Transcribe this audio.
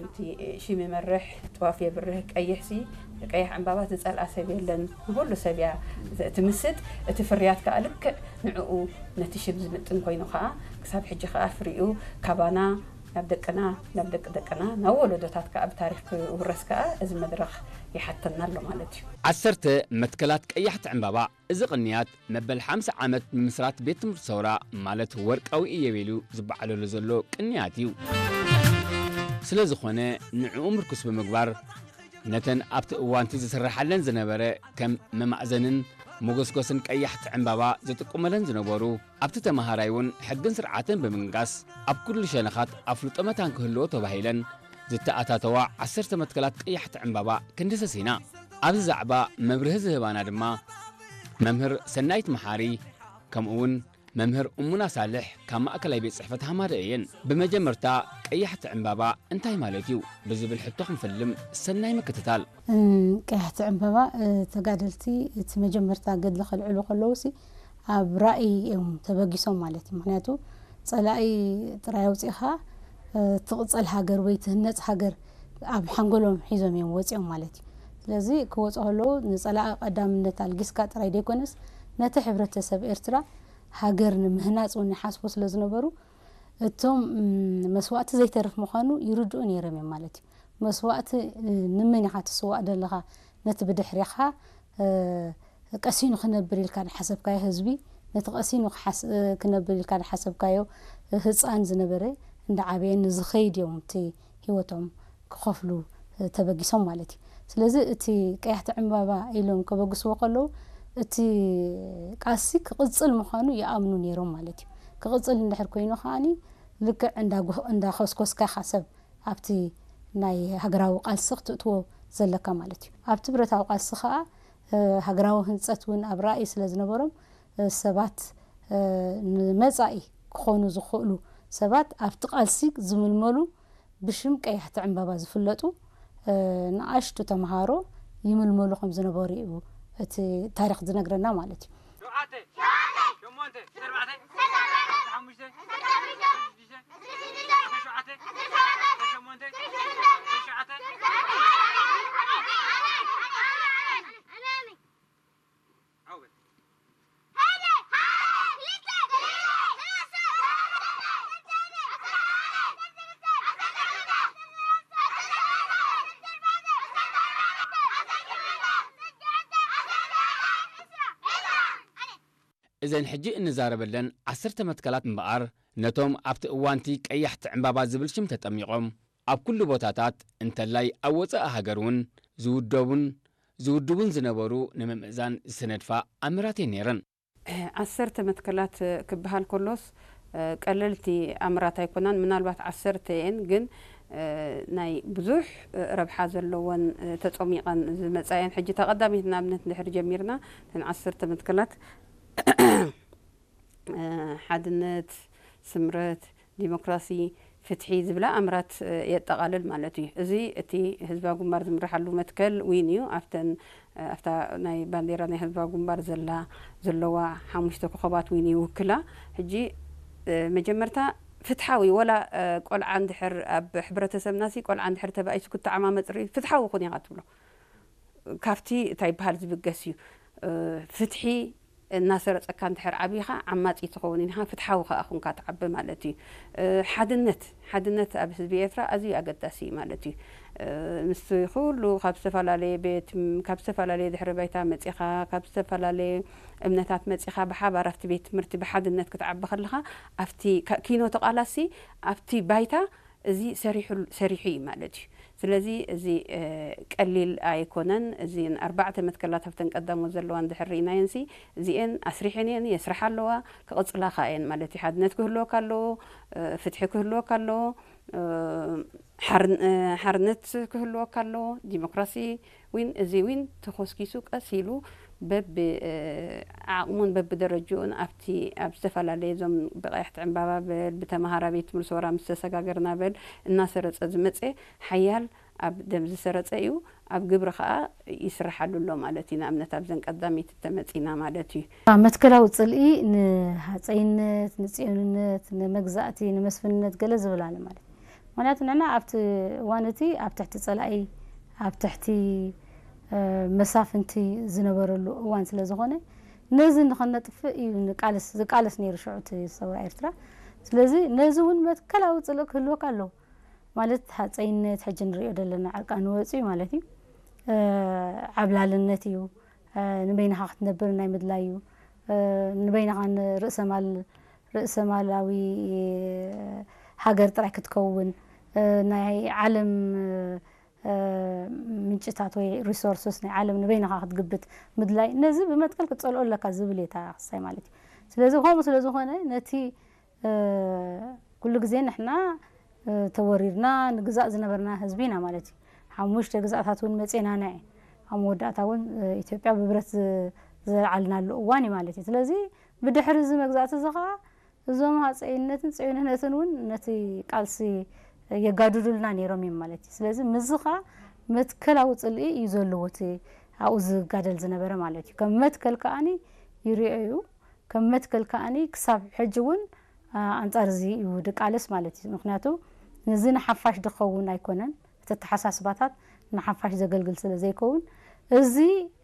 እቲ ሽም ይመርሕ፣ ጥዋፍ የብርህ፣ ቀይሕሲ፣ ቀይሕ ዕምባባ ዝጸልኣ ሰብ የለን። ንኹሉ ሰብ እያ ትምስጥ። እቲ ፍርያት ከኣ ልክዕ ንዕኡ፣ ነቲ ሽም ዝምጥን ኮይኑ ከኣ ክሳብ ሕጂ ከኣ ፍሪኡ ካባና ናብ ደቅና፣ ናብ ደቂ ደቅና፣ ናብ ወለዶታት ከኣ ብታሪኽ ክውረስ ከኣ እዚ መድረኽ ይሓተና ኣሎ ማለት እዩ። ዓሰርተ መትከላት ቀያሕቲ ዕምባባ። እዚ ቅንያት መበል ሓምሳ ዓመት ምምስራት ቤት ትምህርቲ ሰውራ ማለት ወርቃዊ እዮቤልዩ ዝበዓለሉ ዘሎ ቅንያት እዩ። ስለ ዝኾነ ንዕኡ ምርኩስ ብምግባር ነተን ኣብቲ እዋንቲ ዝስርሓለን ዝነበረ ከም መማእዘንን መጎስጎስን ቀያሕቲ ዕምባባ ዝጥቁመለን ዝነበሩ ኣብቲ ተመሃራይ እውን ሕግን ስርዓትን ብምንጋስ ኣብ ኩሉ ሸነኻት ኣፍልጦ መታን ክህልዎ ተባሂለን ዝተኣታተዋ ዓሰርተ መትከላት ቀያሕቲ ዕምባባ ክንድስስ ኢና። ኣብዚ ዛዕባ መብርሂ ዝህባና ድማ መምህር ሰናይት መሓሪ ከምኡ እውን መምህር እሙና ሳልሕ ካብ ማእከላይ ቤት ጽሕፈት ሃማደ እየን። ብመጀመርታ ቀያሕቲ ዕምባባ እንታይ ማለት እዩ ብዝብል ሕቶ ክንፍልም ሰናይ ምክትታል። ቀያሕቲ ዕምባባ ተጋደልቲ እቲ መጀመርታ ገድሊ ከልዕሉ ከለውሲ ኣብ ራእይ እዮም ተበጊሶም ማለት እዩ። ምክንያቱ ጸላኢ ጥራይ ኣውፂእኻ ትቕፀል ሃገር ወይ ትህነፅ ሃገር ኣብ ሓንጎሎም ሒዞም እዮም ወፂኦም ማለት እዩ። ስለዚ ክወፁ ከለዉ ንፀላኢ ቀዳምነት ኣልጊስካ ጥራይ ዘይኮነስ ነቲ ሕብረተሰብ ኤርትራ ሃገር ንምህናፅ እውን ይሓስቡ ስለ ዝነበሩ እቶም መስዋእቲ ዘይተርፍ ምዃኑ ይርድኡ ነይሮም እዮም ማለት እዩ። መስዋእቲ ንመን ኢኻ ትስዋእ ዘለኻ? ነቲ ብድሕሪኻ ቀሲኑ ክነብር ኢልካ ዝሓሰብካዮ ህዝቢ፣ ነቲ ቀሲኑ ክነብር ኢልካ ዝሓሰብካዮ ህፃን ዝነበረ እንዳዓበየ ንዝኸይድ እዮም እቲ ህይወቶም ክኸፍሉ ተበጊሶም ማለት እዩ። ስለዚ እቲ ቀያሕቲ ዕምባባ ኢሎም ከበግስዎ ከለዉ እቲ ቃልሲ ክቕፅል ምዃኑ ይኣምኑ ነይሮም ማለት እዩ። ክቕፅል እንድሕር ኮይኑ ከዓኒ ልክዕ እንዳጎ- እንዳኸስኮስካ ኢኻ ሰብ ኣብቲ ናይ ሃገራዊ ቃልሲ ክትእትዎ ዘለካ ማለት እዩ። ኣብቲ ብረታዊ ቃልሲ ከዓ ሃገራዊ ህንፀት እውን ኣብ ራእይ ስለ ዝነበሮም ሰባት ንመፃኢ ክኾኑ ዝኽእሉ ሰባት ኣብቲ ቃልሲ ዝምልመሉ ብሽም ቀያሕቲ ዕምባባ ዝፍለጡ ንኣሽቱ ተምሃሮ ይምልመሉ ከም ዝነበሩ እዩ እቲ ታሪኽ ዝነግረና ማለት እዩ። እዘን ሕጂ እንዛረበለን ዓሰርተ መትከላት እምበኣር ነቶም ኣብቲ እዋንቲ ቀያሕቲ ዕምባባ ዝብል ሽም ተጠሚቖም ኣብ ኩሉ ቦታታት እንተላይ ኣብ ወጻኢ ሃገር እውን ዝውደቡን ዝውድቡን ዝነበሩ ንምምእዛን ዝተነድፋ ኣምራት እየን ነይረን። ዓሰርተ መትከላት ክበሃል ከሎስ ቀለልቲ ኣምራት ኣይኮናን። ምናልባት ዓሰርተ እየን ግን ናይ ብዙሕ ረብሓ ዘለወን ተጸሚቐን ዝመጻ እየን። ሕጂ እታ ቀዳመይቲ ንኣብነት እንድሕር ጀሚርና እተን ዓሰርተ መትከላት ሓድነት፣ ስምረት፣ ዲሞክራሲ፣ ፍትሒ ዝብላ ኣምራት የጠቓልል ማለት እዩ። እዚ እቲ ህዝባዊ ግንባር ዝምርሓሉ መትከል ዊን እዩ። ኣብተን ኣብታ ናይ ባንዴራ ናይ ህዝባዊ ግንባር ዘላ ዘለዋ ሓሙሽተ ኮኸባት ዊን ይውክላ። ሕጂ መጀመርታ ፍትሓዊ ወላ ቆልዓ እንድሕር ኣብ ሕብረተሰብና ሲ ቆልዓ እንድሕር ተባኢሱ ክተዓማመፅ ርኢ ፍትሓዊ ኩን ኢኻ ትብሎ። ካብቲ እንታይ ይበሃል ዝብገስ እዩ። ፍትሒ እናሰረፀካ እንድሕር ዓቢኻ ዓማፂ ትኸውን ኢኻ፣ ፍትሓዊ ከዓ ኩንካ ትዓቢ ማለት እዩ። ሓድነት ሓድነት ኣብ ህዝቢ ኤርትራ ኣዝዩ ኣገዳሲ እዩ ማለት እዩ። ምስቲ ኩሉ ካብ ዝተፈላለየ ቤት ካብ ዝተፈላለየ ድሕሪ ባይታ መፂኻ ካብ ዝተፈላለየ እምነታት መፂኻ ብሓባር ኣብቲ ቤት ትምህርቲ ብሓድነት ክትዓቢ ከለኻ ኣብቲ ኪኖ ተቓላሲ ኣብቲ ባይታ እዚ ሰሪሑ እዩ ማለት እዩ። ስለዚ እዚ ቀሊል ኣይኮነን። እዚ ኣርባዕተ መትከላት ኣብተን ቀዳሞት ዘለዋ እንድሕር ርኢናየን ሲ እዚኤን ኣስሪሐን እየን የስርሓ ኣለዋ ክቕፅላ ከኣ እየን ማለት እዩ። ሓድነት ክህልወካ ኣለዎ፣ ፍትሒ ክህልወካ ኣለዎ፣ ሓርነት ክህልወካ ኣለዎ፣ ዲሞክራሲ ዊን እዚ ዊን ተኾስኪሱ ቀስ ኢሉ በቢ ዓቕሙን በቢ ደረጅኡን ኣብቲ ኣብ ዝተፈላለየ እዞም ብቐያሕቲ ዕምባባ በል ብተምሃራ ቤት ትምህርቲ ሰውራ ምስ ተሰጋገርና በል እናሰረጸ ዝመጸ ሓያል ኣብ ደም ዝሰረጸ እዩ። ኣብ ግብሪ ኸኣ ይስርሓሉ ኣሎ ማለት እዩ። ንኣብነት ኣብዘን ቀዳመይቲ ተመጺና ማለት እዩ። መትከላዊ ጽልኢ ንሃጸይነት፣ ንጽዮንነት፣ ንመግዛእቲ፣ ንመስፍንነት ገለ ዝብል ኣለ ማለት እዩ። ምክንያቱ ንሕና ኣብቲ እዋን እቲ ኣብ ትሕቲ ጸላኢ፣ ኣብ ትሕቲ መሳፍንቲ ዝነበረሉ እዋን ስለ ዝኾነ፣ ነዚ ንኸነጥፍእ እዩ ንቃለስ ዝቃለስ ነይሩ ሽዑ እቲ ሰውራ ኤርትራ። ስለዚ ነዚ እውን መትከላዊ ጽልኢ ክህልወካ ኣለዎ። ማለት ሃጸይነት ሕጂ ንሪኦ ዘለና ዕርቃኑ ወጺኡ ማለት እዩ። ዓብላልነት እዩ። ንበይንኻ ክትነብር ናይ ምድላይ እዩ። ንበይንኻ ንርእሰማል ርእሰማላዊ ሃገር ጥራይ ክትከውን፣ ናይ ዓለም ምንጭታት ወይ ሪሶርስስ ናይ ዓለም ንበይንኻ ክትግብት ምድላይ፣ ነዚ ብመትከል ክትጸልኦ ኣለካ ዝብል እየ እታ ክሳይ ማለት እዩ። ስለዚ ከምኡ ስለ ዝኾነ ነቲ ኩሉ ግዜ ንሕና ተወሪርና ንግዛእ ዝነበርና ህዝቢ ኢና ማለት እዩ። ሓሙሽተ ግዛእታት እውን መጼና ንዐ ኣብ መወዳእታ እውን ኢትዮጵያ ብብረት ዘልዓልናሉ እዋን እዩ ማለት እዩ። ስለዚ ብድሕሪ እዚ መግዛእቲ እዚ ከዓ እዞም ሃፀይነትን ፅዮንነትን እውን ነቲ ቃልሲ የጋድዱልና ነይሮም እዮም ማለት እዩ። ስለዚ ምዚ ከዓ መትከላዊ ፅልኢ እዩ ዘለዎ እቲ ኣብኡ ዝጋደል ዝነበረ ማለት እዩ። ከም መትከል ከዓኒ ይሪኦ እዩ። ከም መትከል ከዓኒ ክሳብ ሕጂ እውን ኣንፃር እዚ እዩ ድቃለስ ማለት እዩ። ምክንያቱ እዚ ንሓፋሽ ድኸውን ኣይኮነን። እቲ ኣተሓሳስባታት ንሓፋሽ ዘገልግል ስለ ዘይከውን እዚ